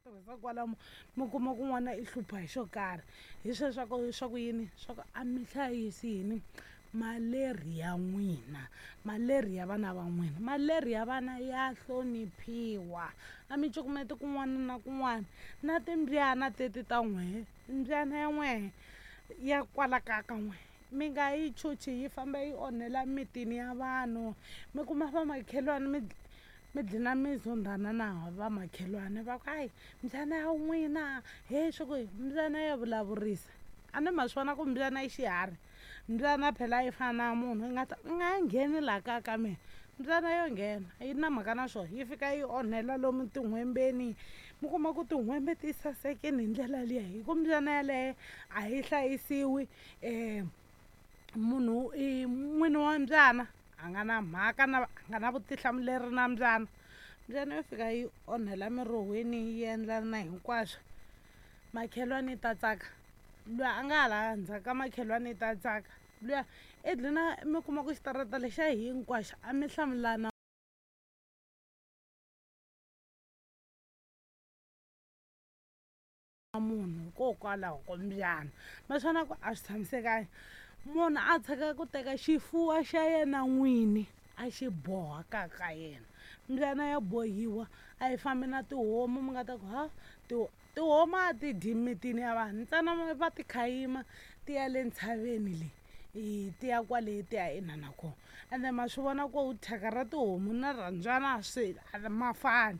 Tirhisa kwalamo mi kuma ku n'wana i hlupha hi xo karhi. Hi sweswo swa ku yini? Swa ku a mi hlayisi yini? Malerhi ya n'wina, malerhi ya vana va n'wina. Malerhi ya vana ya hloniphiwa. A mi cukumeti kun'wana na kun'wana. Na timbyana teti ta n'wehe, mbyana ya n'wehe ya kwala kaya ka n'wehe mi nga yi chuchi yi famba yi onhela mitini ya vanhu. Mi kuma vamakhelwani mi dlina mi zondhana na vamakhelwani, va ku hayi mbyana ya n'wina he swi ku mbyana ya vulavurisa. A ni ma swi vona ku mbyana i xiharhi? Mbyana phela yi fana na munhu, yi nga ta i nga ngheni laha kaya ka mina. Mbyana yo nghena yi na mhaka na swona, yi fika yi onhela lomu tin'hwembeni. Mi kuma ku tin'hwembe ti sasekini hi ndlela liya hi ku mbyana yaleyo a yi hlayisiwi. Munhu i n'wini wa mbyana a nga na mhaka na a nga na vutihlamuleri na mbyana. Mbyana yo fika yi onhela mirohweni yi endla na hinkwaswo, makhelwani yi ta tsaka, luya a nga hala ndzhaku ka makhelwani yi ta tsaka, luya i dlina mi kuma ku xitarata lexiya hinkwaxo a mi hlamulana munhu hikokwalaho ko mbyana. Ma swi vona ku a swi tshamisekanga. Munhu a tshika ku teka xifuwo xa yena n'wini a xi boha kaya ka yena. Mbyana ya bohiwa, a yi fambi na tihomu. Mi nga ta ku ha tihomu a ti dyi mitini ya vanhu, ntsena va ti khayima ti ya le ntshaveni le, ti ya kwale ti ya inana kona. Ende ma swi vona ku thyaka ra tihomu na ra mbyana swi a ma fani.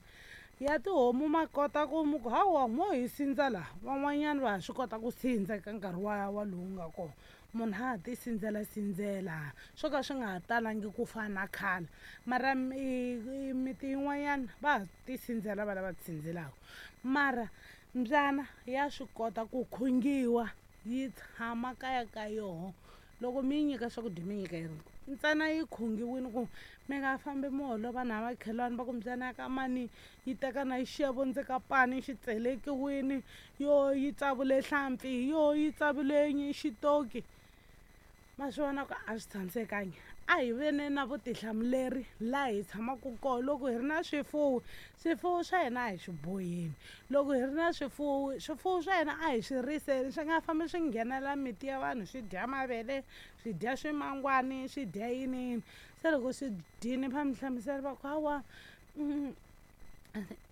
Ya tihomu ma kota ku mi ku hawa mo hi sindza laha, van'wanyana va ha swi kota ku sindza eka nkarhi wa lowu nga kona. Munhu a ha ti sindzela sindzela, swo ka swi nga ha talangi ku fana na khale. Mara miti yin'wanyana va ha ti sindzela va lava ti sindzelaka. Mara mbyana ya swi kota ku khungiwa yi tshama kaya ka yoho. Loko mi yi nyika swakudya mi nyika yi ntsena yi khungiwile ku mi nga fambi mi holova na makhelwani, va ku mbyana ya ka mani yi teka na xixevo ndze ka pani xi tselekiwini, yo yi tsavule hlampfi, yo yi tsavule xitoki. Ma swi vona ku a swi tshamisekangi. A hi veni na vutihlamuleri laha hi tshamaka kona. Loko hi ri na swifuwo, swifuwo swa hina a hi swi boheni. Loko hi ri na swifuwo, swifuwo swa hina a hi swi riseni, swi nga fambi swi nghenela miti ya vanhu swi dya mavele, swi dya swimangwani, swi dya yiniyini. Se loko swi dyini va mi hlamusela va ku hawa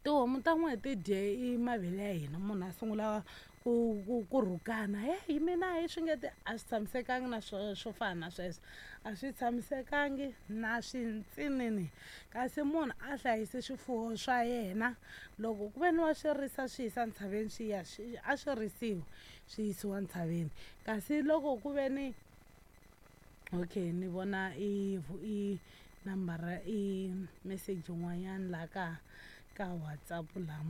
tihomu ta n'wehe ti dye i mavele ya hina. Munhu a sungula ku rhukana, heyi mina hi swi nge ti a swi tshamisekanga na swo fana na sweswo, a swi tshamisekangi na swintsinini. Kasi munhu a hlayise swifuwo swa yena, loko ku ve ni wa swi risa swi yisa ntshaveni, swi ya swi a swi risiwi swi yisiwa ntshaveni. Kasi loko ku ve ni okay ni vona i nambara i meseji yin'wanyana laha ka WhatsApp laha.